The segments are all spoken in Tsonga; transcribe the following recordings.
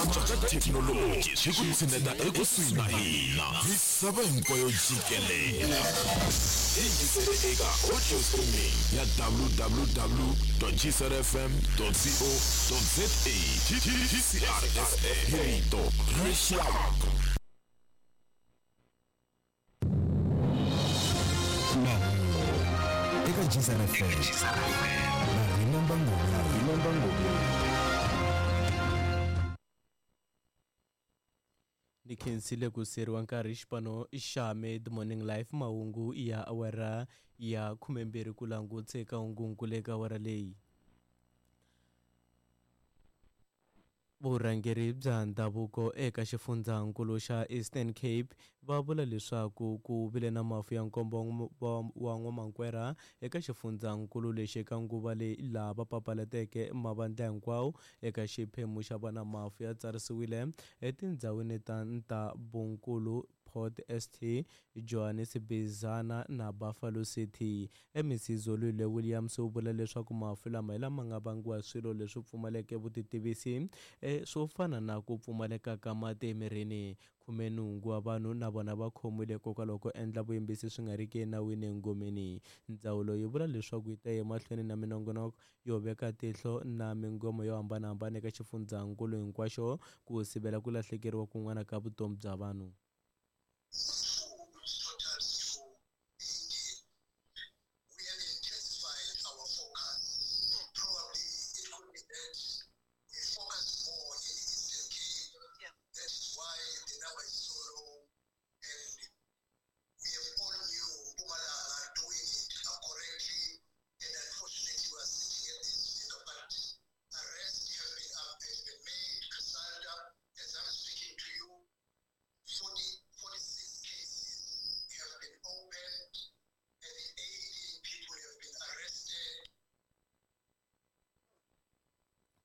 Ku cinca ka thekinoloji swi ku tshineta ekusuhi na hina. Misava hinkwayo jikelele. Hi yingisele eka audio streaming ya www.gcrfm.co.za. GCRFM hi rito ra rixaka. Mahungu eka Gcr FM na Remember Ngobeni. Ni khensile ku siyeriwa nkarhi xipano xa Mid Morning Life mahungu ya awara ya 12 ku langutse eka hungunkulu eka awara leyi. Vurhangeri bya ndhavuko eka xifundzankulu xa Eastern Cape va vula leswaku ku vile na mafu ya nkombo wa n'wamankwera eka xifundzankulu lexi eka nguva leyi laha va papalateke mavandla hinkwawo eka xiphemu xa vona mafu ya tsarisiwile etindhawini ta Ntabunkulu, Port St Johannes Bizana na Buffalo City. MEC Zolile Williams u vula leswaku mafu lama hi lama nga vangiwa hi swilo leswi pfumaleke vutitivisi e, swo fana na ku pfumaleka ka mati emirini. Khumenhungu wa vanhu na vona va khomiwile hikokwalaho ko endla vuyimbisi swi nga riki enawini engomeni. Ndzawulo yi vula leswaku yi ta ya emahlweni na minongonoko yo veka tihlo na mingomo yo hambanahambana eka xifundzankulu hinkwaxo ku sivela ku lahlekeriwa kun'wana ka vutomi bya vanhu.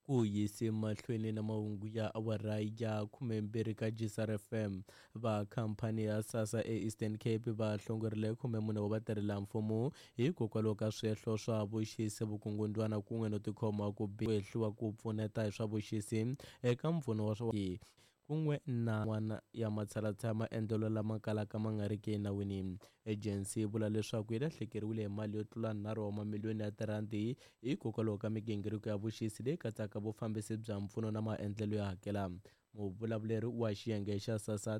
Ku yise mahlweni na mahungu ya awara ya 12 ka GCR FM. Va khamphani ya SASSA eEastern Cape va hlongorile 14 wa vatirhelamfumo hikokwalaho ka swihehlo swa vuxisi, vukungundwana kun'we no tikhoma ku biha, ku hehliwa ku pfuneta hi swa vuxisi eka mpfuno wa swa kun'we na n'wana ya matshalatshala ya maendlelo lama kalaka ma nga riki enawini. Ejensi yi vula leswaku yi lahlekeriwile hi mali yo tlula nharhu wa mamiliyoni ya tirhandi hikokwalaho ka migingiriko ya vuxisi leyi katsaka vufambisi bya mpfuno na maendlelo yo hakela. Muvulavuleri wa xiyenge xa SASSA,